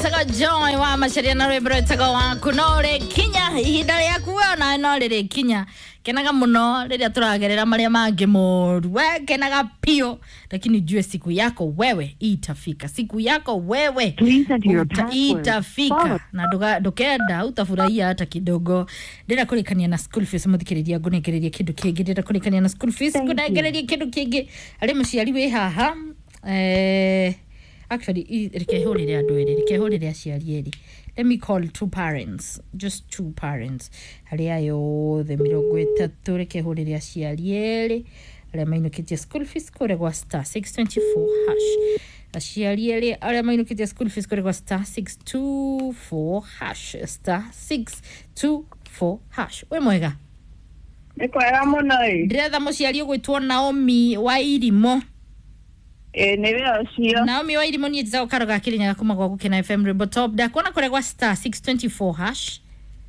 Wĩtagwo Joy wa Macharia na rwĩmbo rwĩtagwo waku no rĩkinya ihinda rĩaku we onawe no rĩrĩkinya. Kenaga mũno rĩrĩa tũragerera marĩa mangĩ moru, we kenaga piũ, lakini ujue siku yako wewe itafika, siku yako wewe Please enter your password. itafika Followed na ndukenda utafurahia hata kidogo. Ndĩrenda kũrĩkania na school fees mũthikĩrĩria, ngũnengereria kĩndũ kĩngĩ. Ndĩrenda kũrĩkania na school fees, Thank you. ngũnengereria kĩndũ kĩngĩ. Harĩ mũciari wĩ haha, actually reke hũrĩre andũ erĩ, reke hũrĩre aciari erĩ. Let me call two parents, just two parents, harĩ aya othe 30. Reke hũrĩre aciari erĩ arĩa mainũkĩtie school fees kũrĩa gwa star 624 hash. Aciari erĩ arĩa mainũkĩtie school fees kũrĩa gwa star 624 hash, star 624 hash. Wĩ mwega? Nĩ kwega mũno ĩ. Ndĩretha mũciari ũgwĩtwo Naomi wa Irimo. Ĩ nĩwe ũcio. Naomi wa Irimo, niĩ njĩtagwo Karo ga Kĩrĩnyaga kuma gwa Gũkena FM Rwĩmbo Top. Ndakuona kũrĩa gwa star 624 hash.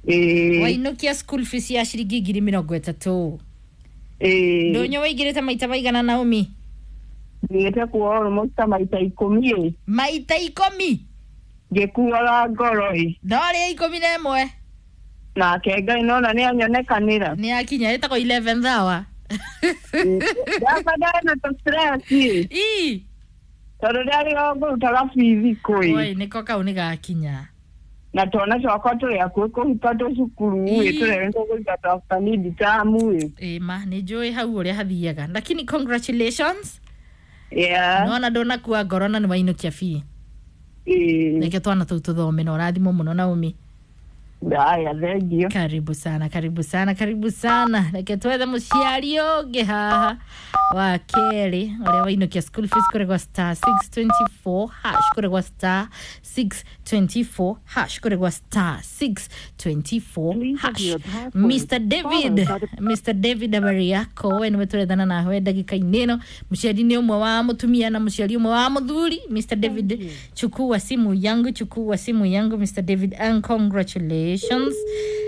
Ĩ. Wainũkia school fees ya ciringi 30,000. Ĩ. Ndũnyũ waingĩrĩte maita maigana, Naomi? Thiĩte kuo almost ta maita 10 ĩ. Maita 10? Ngĩkuaga ngoro ĩ. No rĩa 11. Nake Ngai nona nĩ anyonekanĩra. Nĩ akinya, ĩtagwo 11th hour. Ndaba ndana tũ stress ĩ. Ii. Tondũ ndarĩ o ngũrutaga bithi kũ ĩ. Oi, nĩko kau nĩ gakinya. Na twana twakwa tũrĩ hakuhĩ kũhika twĩ cukuru ĩ. Ii. Tũrĩa tũkũruta twa mid term ĩ. Ĩ ma nĩ njũĩ hau ũrĩa hathiaga, lakini congratulations. Yeah. Nona ndũnakua ngoro na nĩ wainũkia bii. Ĩ. Reke twana tũu tũthome na ũrathimwo mũno, Naomi. Haya, thengiũ. Karibu sana, karibu sana, karibu sana. Reke twethe mũciari ũngĩ haha wa kerĩ ũrĩa wainũkia school fees kũrĩ gwa star 624 hash, kũrĩ gwa star 624 hash, kũrĩ gwa star 624 Please enter hash. your password, Mr David, followed by the Mr David, habari yako? We nĩwe tũrethana nawe ndagĩka-inĩ ĩno. Mũciari nĩ ũmwe wa mũtumia na mũciari ũmwe wa mũthuri. Mr David, chukua simu yangu, chukua simu yangu Mr David, and congratulations.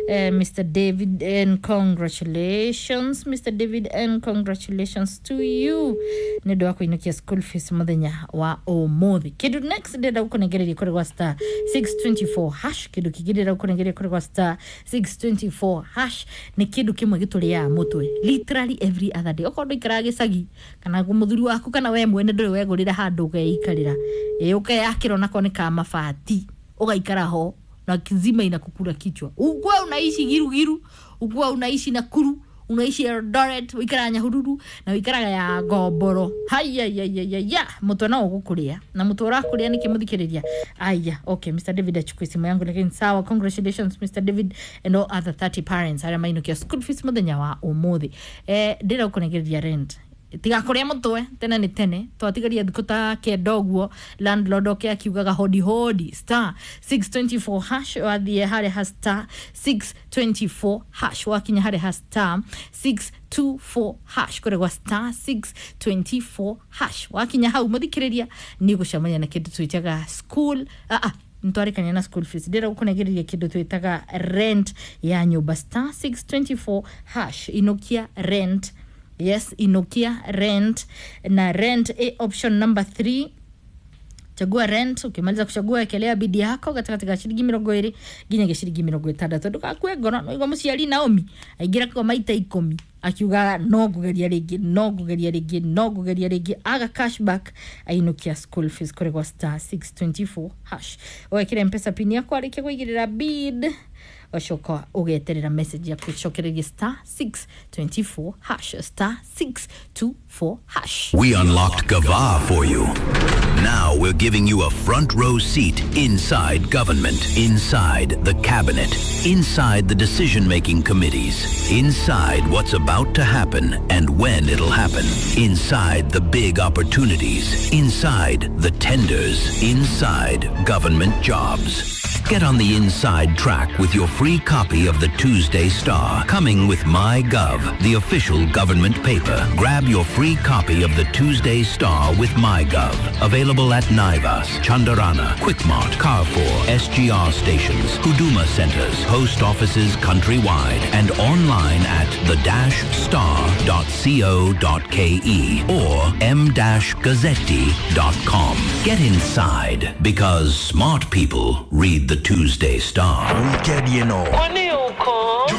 Mr David, and congratulations Mr David, and congratulations to you nĩ ũndũ wa kũinũkia school fees mũthenya wa ũmũthĩ. Kĩndũ next ndĩrenda gũkũnengereria kũrĩ gwa star 624 hash, kĩndũ kĩngĩ ndĩrenda gũkũnengereria kũrĩ gwa star 624 hash nĩ kĩndũ kĩmwe gĩtũrĩaga mũtwe literally every other day. Okorwo ndũikaraga gĩcagi kana mũthuri waku kana we mwene ndũrĩ wegũrĩra handũ ũgeikarĩra, ĩ ũkeyakĩra onako nĩ ka mabati ũgaikara ho na kizima inakukula kichwa, ukuwa unaishi Girugiru, ukuwa unaishi Nakuru, unaishi Eldoret, wikaraga Nyahururu na wikaraga ya Ngomboro, hayayayaya, mutwe no ugukuria na mutwe urakuria niki muthikiriria. Aya, okay, Mr David achukue simu yangu, lakini sawa. Congratulations Mr David and all other 30 parents aria mainukia school fees muthenya wa umuthi. Ndĩrenda gũkũnengereria rent tigakuria mutwe tene nĩ tene, twatigaria thikũ ta 9 ũguo landlord oke akiugaga hodi hodi. Star 624 hash, wathiĩ harĩa ha star 624 hash, wakinya harĩa ha star 624 hash, kũrĩa gwa star 624 hash, wakinya hau mũthikĩrĩria nĩ ũgũcemania na kĩndũ twĩtaga school, ntwarĩkania na school fees. Ndĩrenda gũkũnengereria kĩndũ twĩtaga rent ya nyũmba, star 624 hash, inukia rent. Yes, inukia rent na rent a option number 3. Chagua rent. Ukimaliza kuchagua, ekelea bidi yako gatagatĩ ga ciringi 20 nginyagia ciringi 60. Ndũgakue ngoro. Noigua mũciari Naomi aingĩra kwa maita 10 akiugaga no ngũgeria rĩngĩ, no ngũgeria rĩngĩ, no ngũgeria rĩngĩ, aga cashback ainũkia school fees kũrĩ gwa star 624 hash. Wekĩra Mpesa pin yaku, arĩkia kũigĩrĩra bid, ũcoka ũgeterera message ya gũcokereria star 624 hash, star 624 hash. We unlocked Gava for you. Now we're giving you a front row seat inside government, inside the cabinet, inside the decision making committees, inside what's about to happen and when it'll happen, inside the big opportunities, inside the tenders, inside government jobs. Get on the inside track with your free copy of the Tuesday Star, coming with MyGov, the official government paper. Grab your free copy of the Tuesday Star with MyGov. Available at Naivas, Chandarana, Quickmart, Carrefour, SGR stations, Huduma centers, post offices countrywide, and online at the-star.co.ke or m-gazzetti.com. Get inside because smart people read the Tuesday Star. Weekend, you know. Kwani uko?